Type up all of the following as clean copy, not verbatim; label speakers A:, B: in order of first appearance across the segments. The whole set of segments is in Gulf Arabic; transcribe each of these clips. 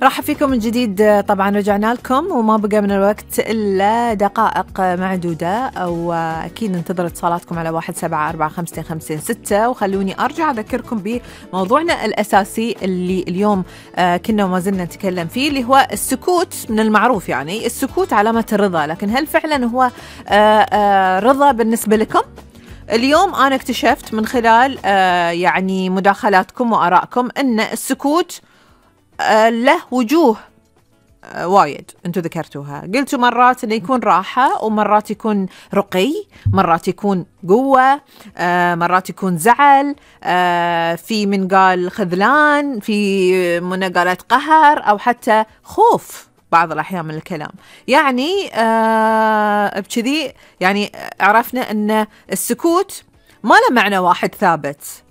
A: راح فيكم من جديد. طبعا رجعنا لكم وما بقى من الوقت إلا دقائق معدودة، أو أكيد ننتظر اتصالاتكم على 17455556. وخلوني أرجع أذكركم بموضوعنا الأساسي اللي اليوم كنا وما زلنا نتكلم فيه، اللي هو السكوت. من المعروف يعني السكوت علامة الرضا، لكن هل فعلا هو رضا بالنسبة لكم؟ اليوم أنا اكتشفت من خلال يعني مداخلاتكم وآرائكم أن السكوت له وجوه وايد انتو ذكرتوها. قلتوا مرات انه يكون راحة، ومرات يكون رقي، مرات يكون قوة، مرات يكون زعل، في من قال خذلان، في من قالت قهر، او حتى خوف بعض الأحيان من الكلام. يعني بكذي يعني عرفنا ان السكوت ما له معنى واحد ثابت،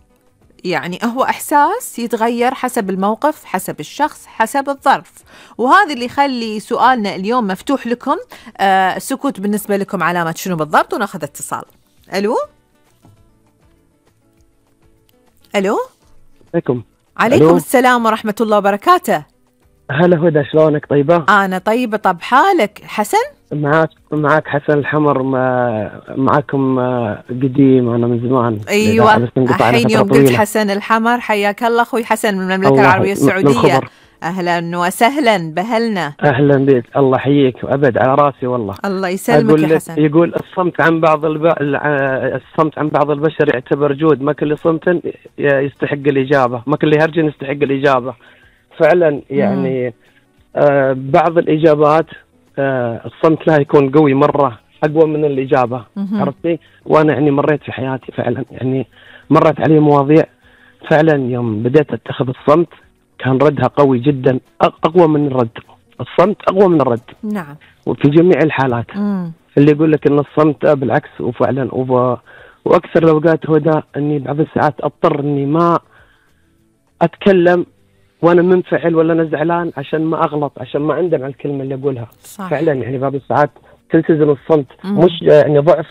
A: يعني هو إحساس يتغير حسب الموقف، حسب الشخص، حسب الظرف. وهذا اللي يخلي سؤالنا اليوم مفتوح لكم. السكوت بالنسبة لكم علامة شنو بالضبط؟ وناخذ اتصال. ألو. عليكم السلام ورحمة الله وبركاته.
B: هلا هدى، شلونك؟ طيبة؟
A: أنا طيبة. طب حالك حسن؟
B: معك حسن الحمر. معكم قديم أنا من زمان.
A: أيوة الحين يوم قلت حسن الحمر حياك الله أخوي حسن من المملكة العربية السعودية. أهلا وسهلا بهلنا.
B: أهلا بك، الله يحييك وأبد على راسي والله.
A: الله يسلمك يا حسن.
B: يقول الصمت عن بعض البشر يعتبر جود، ما كل صمت يستحق الإجابة، ما كل هرج يستحق الإجابة. فعلا يعني بعض الإجابات الصمت لها يكون قوي مرة، أقوى من الإجابة. عرفتي؟ وأنا يعني مريت في حياتي فعلا، يعني مرت علي مواضيع فعلا يوم بديت أتخذ الصمت كان ردها قوي جدا، أقوى من الرد. الصمت أقوى من الرد.
A: نعم.
B: وفي جميع الحالات. اللي يقول لك إن الصمت بالعكس، وفعلا وأكثر الأوقات هدى أني بعض الساعات أضطر أني ما أتكلم وأنا منفعل ولا أنا زعلان عشان ما أغلط، عشان ما أندم على الكلمة اللي أقولها.
A: صح.
B: فعلا يعني بعض الساعات تلتزم الصمت، مش يعني ضعف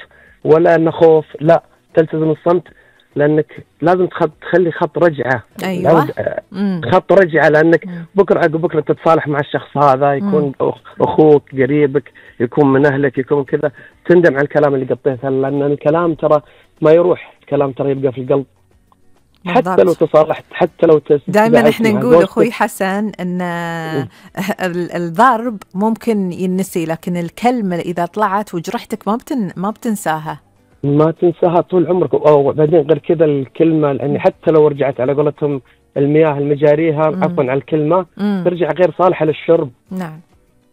B: ولا أنه خوف، لا، تلتزم الصمت لأنك لازم تخلي خط رجعة.
A: أيوة.
B: خط رجعة، لأنك بكرة عقب بكرة تتصالح مع الشخص هذا، يكون أخوك قريبك، يكون من أهلك، يكون كذا، تندم على الكلام اللي قطيته، لأن الكلام ترى ما يروح، الكلام ترى يبقى في القلب. حتى لو تصالحت، حتى لو
A: دائما احنا نقول اخوي حسن ان الضرب ممكن ينسي، لكن الكلمة اذا طلعت وجرحتك ما بتنساها،
B: ما تنساها طول عمرك. وبعدين غير كذا الكلمة، لأن حتى لو رجعت على قولتهم المياه المجاريها، عفوا على الكلمة، ترجع غير صالحة للشرب.
A: نعم.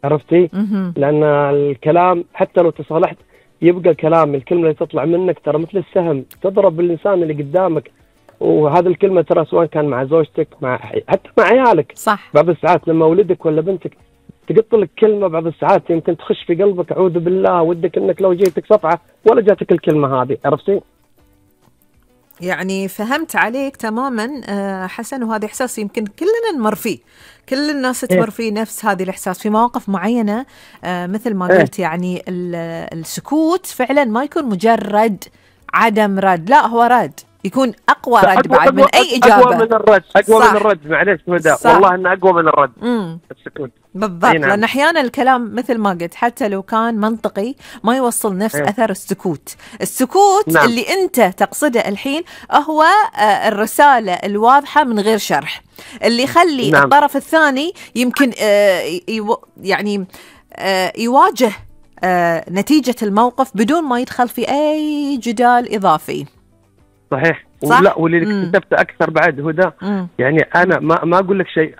B: عرفتي؟ لأن الكلام حتى لو تصالحت يبقى الكلام، الكلمة اللي تطلع منك ترى مثل السهم تضرب الإنسان اللي قدامك. وهذا الكلمة ترى سواء كان مع زوجتك، حتى مع عيالك.
A: صح.
B: بعض الساعات لما ولدك ولا بنتك تقط لك كلمة، بعض الساعات يمكن تخش في قلبك، أعوذ بالله، ودك إنك لو جيتك صفعة ولا جاتك الكلمة هذه. عرفتي؟
A: يعني فهمت عليك تماما حسن. وهذا إحساس يمكن كلنا نمر فيه، كل الناس تمر فيه نفس هذه الإحساس في مواقف معينة. مثل ما قلت يعني السكوت فعلا ما يكون مجرد عدم رد، لا هو رد، يكون أقوى رد بعد من أي إجابة.
B: أقوى من الرد. معلش هدى، والله إنه أقوى من الرد. السكوت
A: بالضبط. نعم. لأن أحيانا الكلام مثل ما قلت حتى لو كان منطقي ما يوصل نفس أثر السكوت. نعم. اللي أنت تقصده الحين هو الرسالة الواضحة من غير شرح، اللي يخلي نعم. الطرف الثاني يمكن يعني يواجه نتيجة الموقف بدون ما يدخل في أي جدال إضافي.
B: صحيح. ولا واللي اكتشفت أكثر بعد هدى، يعني أنا ما أقول لك شيء،